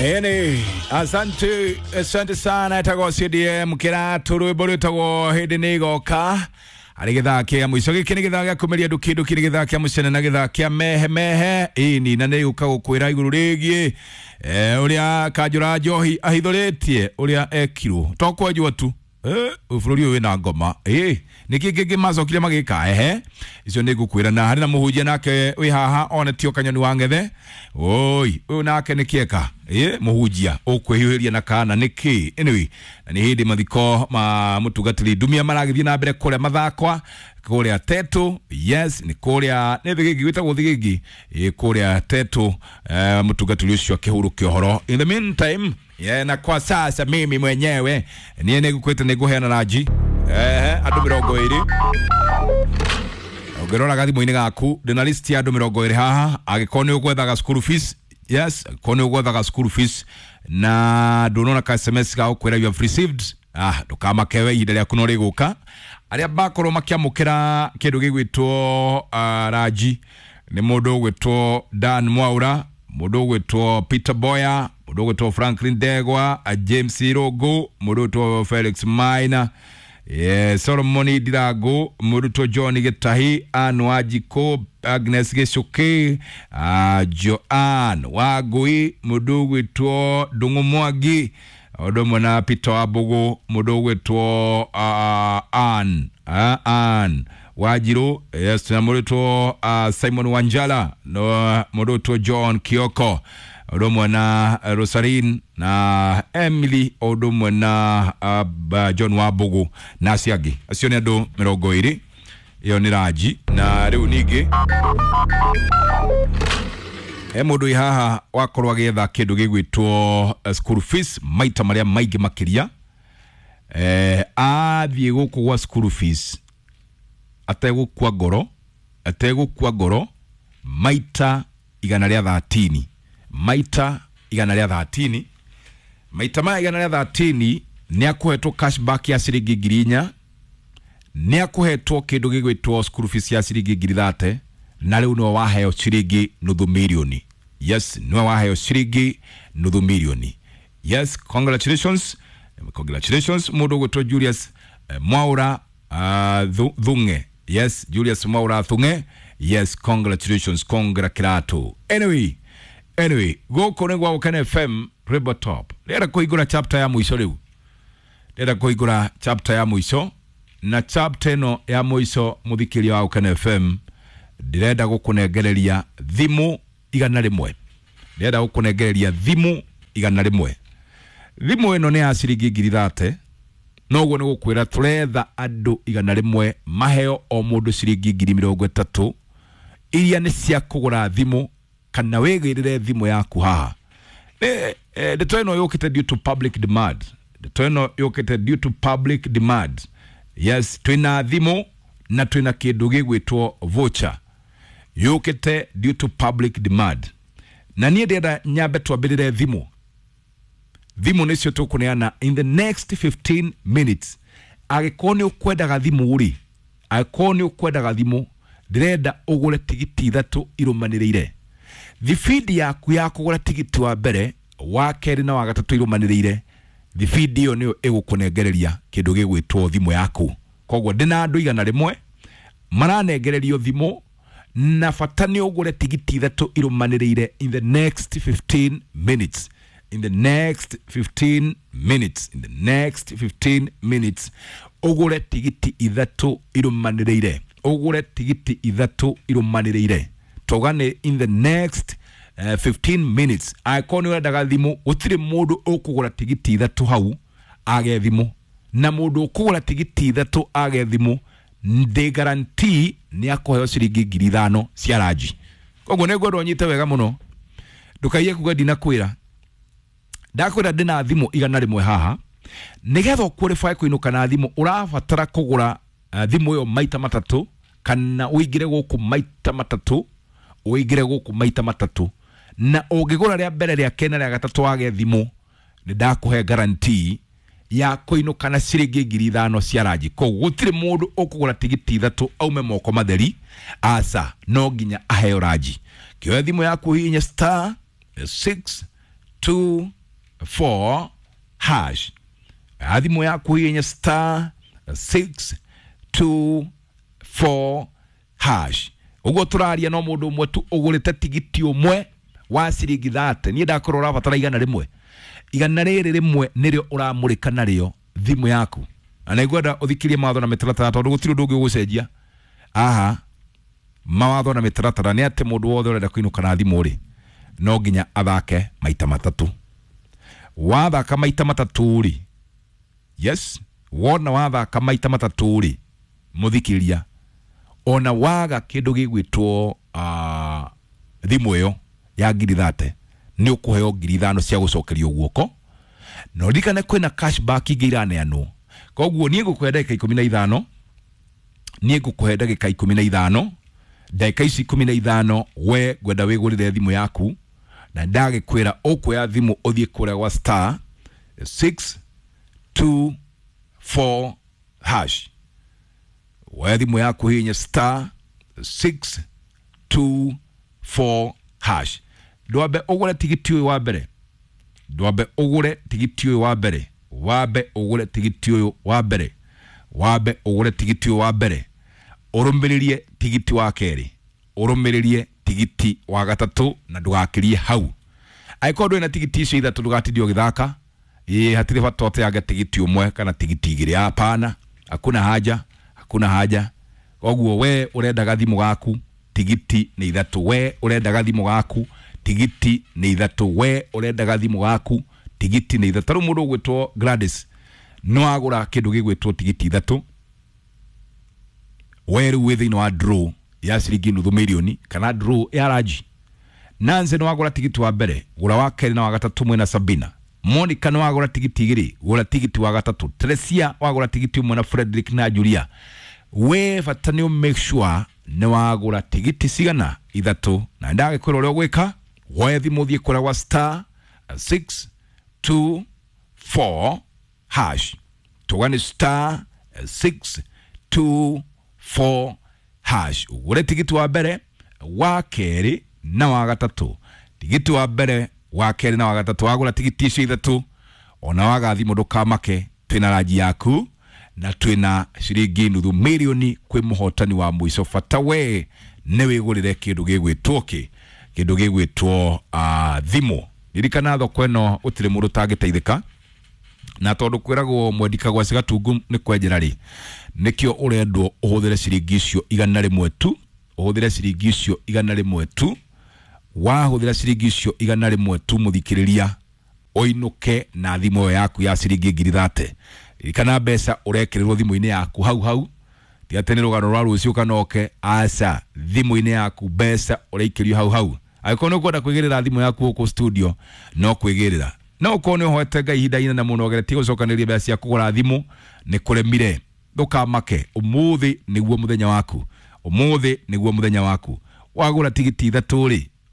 Ene, asante, asante sana etagwo CDM kiratu rwimbo rwitagwo hindi ni igoka arä gä thaa kä a må ico gä kä nä gä thaa gä a kå meria ndå kä ndå kä nä gä thaa kä a må cene na gä thaa kä a mehe mehe ini na nä gå ka gå kwä ra igå rå rä giä å rä a kanjå ra njohi ahithå rä tie å rä a ekirwo to kwenjwo tu bå rå ri å yå wä na ngoma nä kä kä ngä macokire magä ka ehe icio nä ngå kwä ra na harä na må hunjia nake wä haha onetio kanyoni wa ngethe oi å yå nake nä kä må hunjia å kwä hiå hä ria na kana nä kä anyway na nä hä ndä mathiko ma må tungatä ri ndumia maragä thiä na mbere kå rä a mathakwa kå rä a tetu yes nä kå rä a nä thä gä ngä gwä tagwo thä gä ngä kå rä a tetu må tungatä ri å cio akä hå rå kä å horo in the meantime yeah, na kwa sasa mimi mwenyewe niä nä ngå kwä te nä ngå heana ranji andå mä rongo ä rä ũngĩrora gathimũ-inĩ gaku ndĩna list ya andũ 20 haha angĩkorwo nĩ ũgwethaga school fees yes angĩkorwo nĩ ũgwethaga school fees na ndũnona ka sms ga gũkwĩra you have received ah ndũkamakewe ihinda rĩaku no rĩgũka arĩa makorwo makĩamũkĩra kĩndũ gĩgwĩtwo ranji nĩ mũndũ ũgwĩtwo Dan Mwaura mũndũ ũgwĩtwo Peter Boya mũndũ ũgwĩtwo Franklin Ndegwa James Irũngũ mũndũ ũgwĩtwo Felix Maina yeah, Solomon Ndirangu mũrutwo John Gĩtahi Ann Wanjikũ Agnes Gĩcũkĩ Joan Wangũi mũndũ ũgwĩtwo Ndung'u Mwangi ũndũ ũmwe na Peter Wambũgũ mũndũ ũgwĩtwo Ann Ann Wanjirũ yes, na mũrutwo Simon Wanjala no mũndũ ũgwĩtwo John Kioko ũndũ ũmwe na Rosaline na Emily ũndũ ũmwe na John Wambũgũ na acio angĩ acio nĩ andũ 20 ĩyo nĩ ranji na rĩu ningĩ he mũndũ wĩ haha wakorwo agĩetha kĩndũ gĩgwĩtwo school fees maita marĩa maingĩ makĩria athiĩ gũkũ gwa school fees ategũkua ngoro ategũkua ngoro maita 130 maita 130 maita maya 130 nĩ akũhetwo cashback ya ciringi 4,000 nĩ akũhetwo kĩndũ gĩgwĩtwo school fees ya ciringi 30,000 na rĩu nĩwe waheo ciringi 500,000 yes nĩwe waheo ciringi 500,000 yes congratulations congratulations mũndũ ũgwĩtwo Julius Mwaura Thung'e yes Julius Mwaura Thung'e yes congratulations congra kirato anyway anyway gũkũ nĩ gwa Gũkena FM Rebel Top ndĩrenda kũhingũra chapter ya mũico rĩu ndĩrenda kũhingũra chapter ya mũico na chapter ĩno ya mũico mũthikĩria wa Gũkena FM ndĩrenda gũkũnengereria thimũ 100 ndĩrenda gũkũnengereria thimũ 100 thimũ ĩno nĩ ya ciringi 30,000 noguo nĩ gũkwĩra tũretha andũ 100 maheo o mũndũ ciringi 30,000 iria nĩ cia kũgũra thimũ kana wĩgĩrĩre thimũ yaku haha ndeto ĩno yũkĩte due to public demand ndeto ĩno yũkĩte due to public demand yes twĩna thimũ na twĩna kĩndũ gĩgwĩtwo voucher yũkĩte due to public demand na niĩ ndĩrenda nyambe twambĩrĩre thimũ thimũ nĩcio tũkũneana in the next 15 minutes angĩkorwo nĩ ũkwendaga thimũ rĩ angĩkorwo nĩ ũkwendaga thimũ ndĩrenda ũgũre tigiti 3 irũmanĩrĩire thibindi yaku ya kũgũra tigiti wa mbere wa kerĩ na wa gatatũ irũmanĩrĩire thibindi ĩyo nĩyo ĩgũkũnengereria kĩndũ gĩgwĩtwo thimũ yaku koguo ndĩna andũ 100 maranengererio thimũ na bata nĩ ũgũre tigiti 3 irũmanĩrĩire in the next 15 minutes in the next 15 minutes in the next 15 minutes ũgũre tigiti 3 irũmanĩrĩire ũgũre tigiti 3 irũmanĩrĩire togane in the next 15 minutes angĩkorwo nĩ ũrendaga thimũ gũtirĩ mũndũ ũkũgũra tigiti 3 hau age thimũ na mũndũ ũkũgũra tigiti 3 age thimũ ndĩ guarantee nĩ akũheo ciringi 5,000 cia ranji koguo nĩ ngwenda ũnyite wega mũno ndũkaiye kuga ndinakwĩra ndakwĩra ndĩna thimũ 100 haha nĩgetha ũqualify kũinũka na thimũ ũrabatara kũgũra thimũ ĩyo maita matatũ kana ũingĩre gũkũ maita matatũ ũingĩre gũkũ maita matatũ na ũngĩgũra rĩa mbere rĩa kerĩ na rĩa gatatũ wage thimũ nĩ ndakũhe guarantee ya kũinũka na ciringi 5,000 cia ranji koguo gũtirĩ mũndũ ũkũgũra tigiti 3 aume moko matheri aca no nginya aheo ranji kĩoya thimũ yaku hihinya star 6 2 4 hash. Thimũ yaku hihinya star 6 2 4 hash. Ũguo tũraria no mũndũ ũmwe tu ũgũrĩte tigiti ũmwe wa ciringi 30. Niĩ ndakorwo ũrabatara 100. Igana rĩrĩ rĩmwe nĩrĩo ũramũrĩka narĩo thimũ yaku. Na nĩngwenda ũthikĩrie mawatho na mĩtaratara tondũ gũtirĩ ũndũ ũngĩ ũgũcenjia. Aha, mawatho na mĩtaratara nĩ atĩ mũndũ wothe ũrenda kũinũka na thimũ rĩ, no nginya athake maita matatũ. Wathaka maita matatũ rĩ, yes, wona wathaka maita matatũ rĩ, mũthikĩria, ona waga kĩndũ gĩgwĩtwo thimũ ĩyo ya ngiri 30 nĩ ũkũheo ngiri 5 cia gũcokerio guoko. Na ũririkane kwĩna cashback ingĩ iraneanwo. Koguo niĩ ngũkũhe ndagĩka 15, niĩ ngũkũhe ndagĩka 15, ndagĩka ici 15 we ngwenda wĩgũrĩre thimũ yaku, na ndagĩkwĩra ũkuoya thimũ ũthiĩ kũrĩa gwa star 6 2 4 hash. Woya thimũ yaku hihinya star 6 2 4 hash. Ndwambe ũgũre tigiti ũyũ wa mbere, ndwambe ũgũre tigiti ũyũ wa mbere, wambe ũgũre tigiti ũyũ wa mbere, wambe ũgũre tigiti ũyũ wa mbere, ũrũmĩrĩrie tigiti wa kerĩ, ũrũmĩrĩrie tigiti wa gatatũ, na ndũgakĩrie hau. Angĩkorwo ndũrĩ na tigiti icio ithatũ ndũgatinde ũgĩthaka. Ĩĩ, hatirĩ bata ũteange tigiti ũmwe kana tigiti igĩrĩ, hapana, hakuna haja, hakuna haja. Koguo we ũrenda gathimũ gaku tigiti nĩ ithatũ, we ũrenda gathimũ gaku tigiti nĩ ithatũ, we ũrenda gathimũ gaku tigiti nĩ ithatũ. Rĩu mũndũ ũgwĩtwo Gladys nĩ wagũra kĩndũ gĩgwĩtwo tigiti ithatũ, we rĩu wĩ thĩinĩ wa draw ya ciringi nuthu mirioni kana draw ya ranji. Nancy nĩ wagũra tigiti wa mbere, gũra wa kerĩ na wa gatatũ mwĩna Sabina. Monica nĩ wagũra tigiti igĩrĩ, gũra tigiti wa gatatũ. Teresia wagũra tigiti ũmwe na Frederick na Julia. We bata nĩ make sure nĩ wagũra tigiti cigana ithatũ, na ndagĩkwĩra ũrĩa ũgwĩka. Woe thimũ ũthiĩ kũrĩa gwa star 6 2 4 hash. Tuga nĩ star 6 2 4 hash. Ũgũre tigiti wa mbere, wa kerĩ na wa gatatũ. Tigiti wa mbere, wa kerĩ na wa gatatũ. Wagũra tigiti icio ithatũ, ona waga thimũ ndũkamake, twĩna ranji yaku na twĩna ciringi nuthu mirioni kwĩ mũhotani wa mũico. Bata we nĩ wĩgũrĩre kĩndũ gĩgwĩtwo kĩ, kĩndũ gĩgwĩtwo thimũ. Ririkana thoko ĩno gũtirĩ mũndũ ũtangĩteithĩka, na tondũ kwĩragwo mwendi kagwaci gatungu nĩ kwenjera rĩ, nĩkĩo ũrendwo ũhũthĩre ciringi icio 100 tu, ũhũthĩre ciringi icio 100 tu. Wahũthĩra ciringi icio 100 tu, mũthikĩrĩria, ũinũke na thimũ ĩyo yaku ya ciringi ngiri 30. Ririkana mbeca ũrekĩrĩrwo thimũ-inĩ yaku hau hau, ti atĩ nĩ rũgano rwa rũciũ kana oke, aca, thimũ-inĩ yaku mbeca ũraikĩrio hau hau. Angĩkorwo nĩ ũkwenda kwĩgĩrĩra thimũ yaku gũkũ studio, no kwĩgĩrĩra. No ũkorwo nĩ ũhoete Ngai ihinda inene mũno ũgeretie gũcokanĩrĩria mbeca cia kũgũra thimũ, nĩ kũremire, ndũkamake, ũmũthĩ nĩguo mũthenya waku, ũmũthĩ nĩguo mũthenya waku. Wagũra tigiti ithatũ rĩ,